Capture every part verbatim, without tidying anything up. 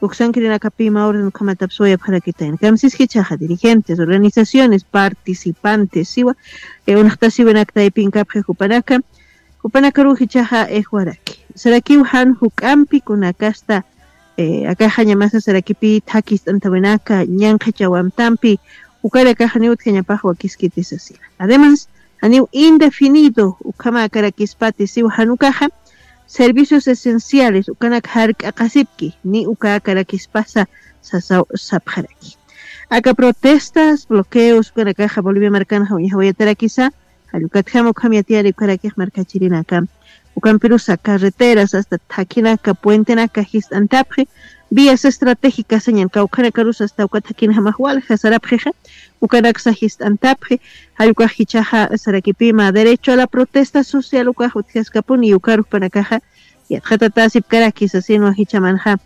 uksankirinakapima orden ukhamatapsuwayapxarakitayna. Kamsis jichhaxa dirigentes, organizaciones, participantes, siwa, eh, unaxtasiwinakta aypinkapxi jupanaka, jupanakaruw jichhaxa ejwaraki. Sarakiw jan juk'ampi kunakasta, eh, akaxañamasa sarakipi thakist'antawinaka, ñanqhachawamtampi, ukarakaxa niw utjañapax wakiskiti sasina. Además, janiw indefinido ukhamakarakispatis siwa jan ukaxa, servicios esenciales ukanak jark'aqasipki, ni ukakarakispasa sasaw sapxaraki. Aka protestas, bloqueos ukanakaxa Bolivia markanxa uñjawayatarakisa, jallukatjama ukham yatiyari ukarakix markachirinaka. Ukampirusa carreteras, hasta thakhinaka, puentenaka jist'antapxi, vías estratégicas sañan kawkhanakarus hasta uka thakhinjamax walja sarapxixa, ukanaksa jist'antapxi, jallukax jichhaxa sarakipima derecho a la protesta social ukax utjaskapuni, ukarux panakaxa yatxatatasipkaraki sasinwa jichhamanxa,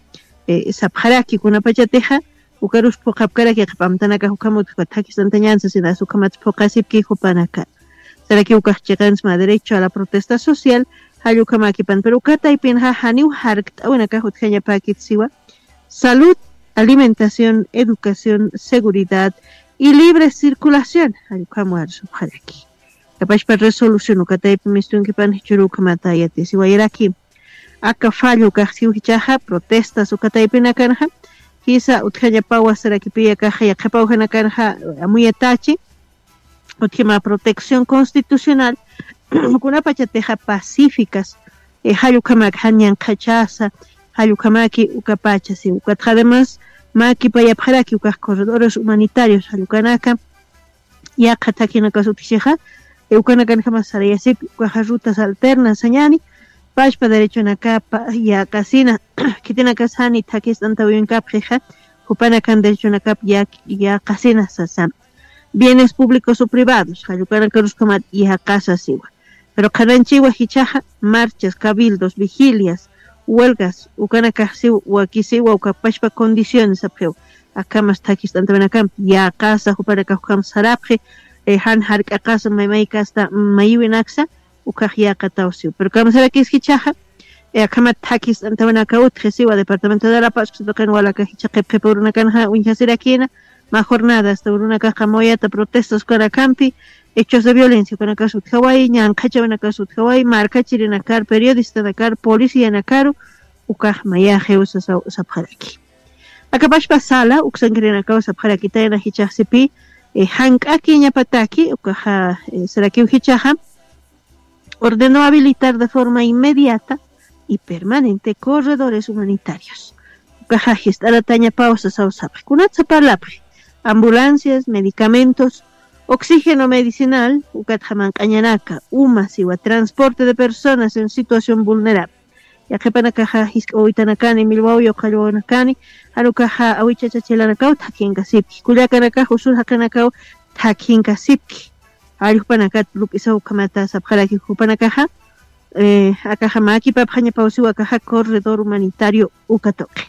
eh, sapxaraki kunapachatixa, ukarus phuqhapkaraki qhipamtanakax ukham utjka thakist'antañan sasina, ukhamat phuqhasipki jupanaka. Saraki ukax chiqansma derecho a la protesta social, jallukamakipan, pero uka taypinxa janiw jarkt'awinakax utjañapäkit siwa, salud, alimentación, educación, seguridad y libre circulación, jallukam warsupxaraki. Kapachpa resolución uka taypi mistunkipan jichhuru ukhamata yatisiwayaraki. Aka fallo ukax siw jichhaxa protestas uka taypinakanxa, jisa utjañapawa sarakipi akaxa yaqhipawjanakanxa amuyatachi, utjima protección constitucional, kunapachatixa pacíficas, eh, jallukhamak jan ñanqhachasa, jallukhamaki ukapacha siw. Ukatxa además, mä kipayapxaraki ukax corredores humanitarios jallukanaka, yaqha thakhinakas utjchixa, eh, ukanakanjama sarayasipki, ukaxa rutas alternas sañani, pachpa derechonakapa yäqasina, khitinakas jani thakhist'antawinkapxixa, jupanakan derechonakap yäq-, yäqasina sasa. Bienes públicos o privados, jallukanakarus ukhamat yäqasa siwa. Pero qhananchiwa jichhaxa, marchas, cabildos, vigilias, huelgas, ukanakax siw, wakisiwa, uka pachpa condiciones sapxiw. Akhamas thakhist'antawinakampi, yäqasa jupanakax ukham sarapxi, eh, jan jark'aqasa, may maykasta, mayiwinaksa, ukax yäqataw siw. Pero kamsarakis jichhaxa, eh, akhamat thakhist'antawinaka utji siwa, departamento de La Paz, uksatuqin walaka jichha qhipqhipa urunakanxa uñjasirakina, mä jornada hasta urunakax qamawayata protestas ukanakampi, hechos de violencia ukanakas utjawayi, ñanqhachawinakas utjawayi, markachirinakar, periodistanakar, policianakaru, ukax mayaxiw sasaw sapxaraki. Akapachpa sala, uksankirinakaw sapxarakitayna jichhaxsipi, eh, jank'akiñapataki, ukaxa, eh, sarakiw jichhaxa, ordenó habilitar de forma inmediata y permanente corredores humanitarios. Ukaxa jist'aratañapaw sasaw sapxi. Kunatsa parlapxi, ambulancias, medicamentos, oxígeno medicinal, ukatxa manq'añanaka, uma siwa, transporte de personas en situación vulnerable. Yaqhipanakaxa jisk'a wawitanakani, millwaw yuqallwawanakani, jan ukaxa awichachachilanakaw thakhinkasipki. Kullakanakax usur jaqinakaw thakhinkasipki. Jallukpanakat lup'isaw ukhamata sapxaraki jupanakaxa, eh, akaxa mä kipapxañapaw siw akaxa corredor humanitario uka tuqi.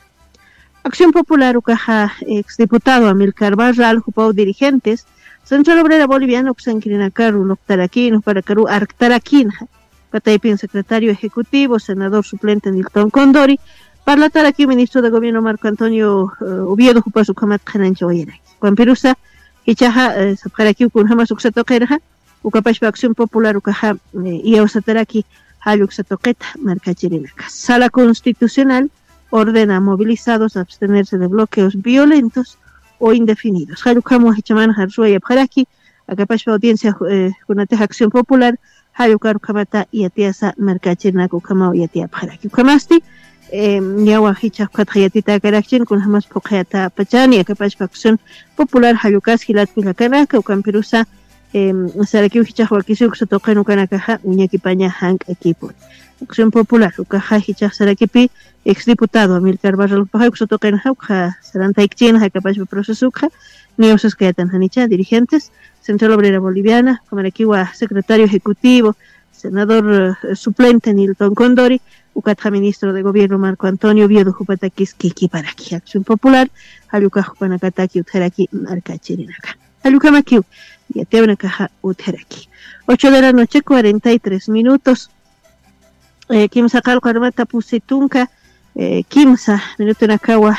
Acción Popular ukaxa, ex diputado Amílcar Barral, jupaw dirigentes, Central Obrera Boliviana uksankirinakaru luqtarakïn, jupanakaru arktarakinxa. Uka taypin secretario ejecutivo, senador suplente Nilton Condori, parlatarakiw ministro de gobierno Marco Antonio, eh, Oviedo, jupas ukhamat qhananchawayaraki. Ukampirusa, jichhaxa, eh, sapxarakiw kunjamas uksa tuqinxa, ukapachpa Acción Popular ukaxa, eh, iyawsataraki jall uksa tuqita markachirinaka. Sala Constitucional ordena a movilizados a abstenerse de bloqueos violentos o indefinidos. Jall ukhamwa jichhamanxa arsuwayapxaraki, akapachpa audiencia, eh, kunatix Acción Popular, jall ukar ukhamata yatiyasa markachirinaka ukhamaw yatiyapxaraki. Ukhamasti, eh, niyawa jichha ukhatxa yatitäkarakchin, kunjamas phuqhayatapachani, akapachpa Acción Popular jall ukas jilat kullakanaka, ukampirusa, em, sarakiw jichhax wakisiw uksa tuqin ukanakaxa uñakipaña jank'akipun. Acción Popular ukaxa jichhax sarakipi ex diputado Amílcar Barral jupaxa uksa tuqinxa ukxa sarantaykchinxa, akapachpa proceso ukxa, niyaw saskayatan janicha, dirigentes, Central Obrera Boliviana, ukhamarakiwa secretario ejecutivo, senador, eh, suplente Nilton Condori, ukatxa ministro de gobierno Marco Antonio Oviedo jupatakis kikiparaki. Acción Popular, jall ukax jupanakataki utjaraki markachirinaka. Jall ukhamakiw, yatiyawinakaxa utjaraki. Ocho de la noche, cuarenta y tres minutos. Eh, kimsa qallqu armata pusi tunka, eh, kimsa minutunakawa